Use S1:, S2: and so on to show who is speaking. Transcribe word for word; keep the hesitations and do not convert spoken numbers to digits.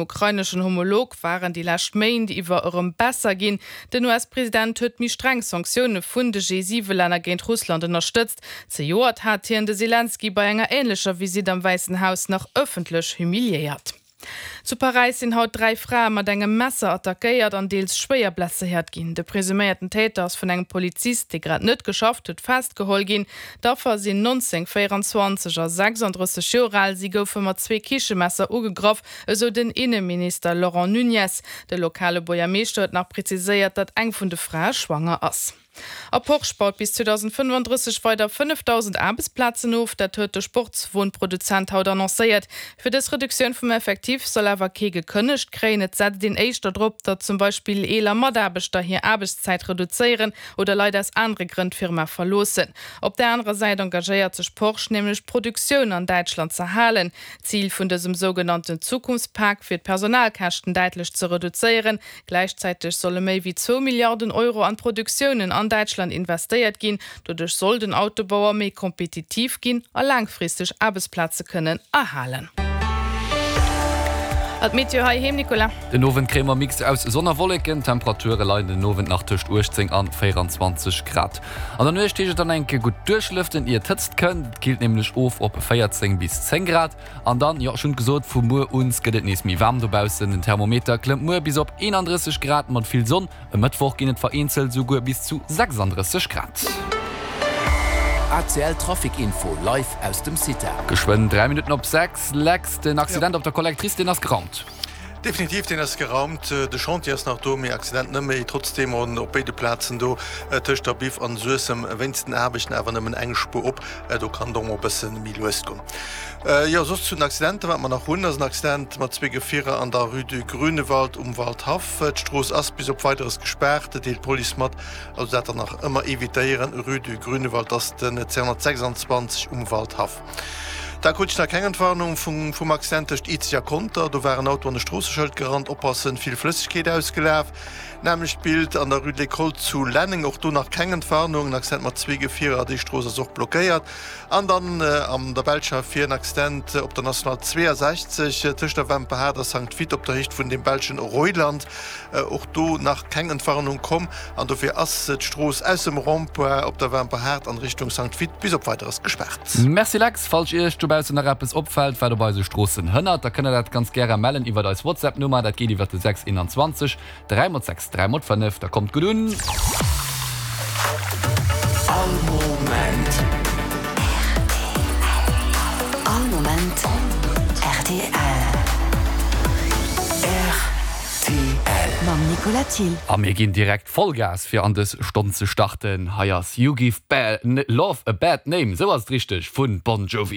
S1: Ukraineschen Homolog waren déi lescht Méint iwwer erëm besser ginn. Den U S-President huet méi streng Sanktioune vun de G siwe Länner géint Russland ënnerstëtzt. Zejoert hat hien de Selenskyj bei enger änlecher Visitt am Wäissen Haus nach ëffentlech humiliéiert. Zu Paräis sinn haut dräi Frae mat engem Messer attackéiert an deels schwéier blesséiert ginn. De presuméierten Täter ass vun engem Polizist, dee grad net geschafft huet, festgeholl ginn. D'Affer sinn neunzéng, véierenzwanzeg a sechsandrësseg Joer al. Si goufe mat zwee Kichemesser ugegraff, esou den Inneminister Laurent Nuñez. De lokale Buergermeeschter huet nach preziséiert, datt eng vun de Frae schwanger ass. A Porsche baut bis zweedausendfënnefandrësseg weider fënnefdausend Aarbechtsplazen of, dat huet de Sportswonproduzent haut annoncéiert. Fir dës Reduktioun vum Effectif soll awer kee gekënnegt kréien. Et setzt een éischter drop, datt zum Beispill eeler Mataarbechter hir Aarbechtszäit reduzéieren oder Leit aus anere Grënn d'Firma verloossen. Op der anerer Säit engagéiert sech Porsche nämlech, d'Produktioun an Däitschland ze halen. Zil vun dësem sougenannten Zukunftspak wier, d'Personalkäschten däitlech ze reduzéieren. Gläichzäiteg solle méi wéi zwou Milliarden Euro an d'Produktiounen an Däitschland investéiert ginn. Doduerch soll den Autobauer méi kompetitiv ginn a laangfristeg Aarbechtsplaze kënnen erhalen. An d'Meteo heiheem, Nicolas?
S2: Den Owend kréie mer Mix aus Sonn a Wolleken, Temperature leien den Owend nach tëscht uechtzéng an véierenzwanzeg Grad. An der Nuecht heescht et dann eng Kéier gutt duerchlëften, ier d'Hëtzt kënnt. Et killt nämlech of op véierzéng bis zéng Grad. An dann, jo, ech hunn et gesot, vu muer un gëtt et nees méi waarm dobaussen. Den Thermometer klëmmt muer bis op eenandrësseg Grad mat vill Sonn. E Mëttwoch ginn et vereenzelt esouguer bis zu sechsandrësseg Grad.
S3: A C L Trafic Info live aus dem CITA.
S2: Geschwënn dräi Minutten op sechs. Lex, den Accident op der Collectrice, deen ass geraumt.
S4: Definitiv, deen ass geraumt. De Chantier ass nach do, mee Accident net méi. Trotzdeem op béide Plazen do tëscht der Biff an Suessem wéinst den Aarbechten awer nëmmen eng Spuer op. Do kann et och mol e bësse méi lues goen. Jo, soss zu den Accidenter, wat mer nach hunn, ass en Accident mat zwee Gefierer an der Rue du Grünewald um Waldhaff. D'Strooss ass bis op Weideres gespaart, deelt d'Police mat. Also dat dann nach ëmmer evitéieren, Rue du Grünewald ass den zweehonnertsechsanzwanzeg um Waldhaff. Da krut ech nach keng Entwarnung vum vum Accident tëscht Izeg a Conter. Do war en Auto an e Stroosseschëld gerannt, oppassen, vill Flëssegkeet ausgelaf. Nämmlecht Bild an der Rue de l'École zu Lenneng, och do nach keng Entwarnung, en Accident mat zwee Gefierer, déi Strooss ass och blockéiert. An dann an der Belsch ervir en Accident op der National zweeasechzeg tëscht der Wemperhaart a Sankt Vith op der Héicht vun dem belschen Reuland. Och do nach keng Entwarnung komm an dofir ass d'Strooss aus dem Rond-point op der Wemperhaart an Richtung Sankt Vith bis op Weideres gespaart.
S2: Merci Lex, falls Iech dobaussen nach eppes opfält, wat op eise Stroossen hënnert, da kënnt der dat ganz gäre mellen iwwert eis WhatsApp-Nummer, dat geet iwwert de sechs einundzwanzeg dräi mol sechs dräi mol fënnef. Da kommt gutt un!
S3: All Moment.
S5: All Moment R T L.
S3: R T L.
S5: Mam Nicolas Thiel.
S2: A mir ginn direkt Vollgas fir an dës Stonn ze starten. Hei ass You Give Bad Love a Bad Name, sou ass et richteg, vun Bon Jovi.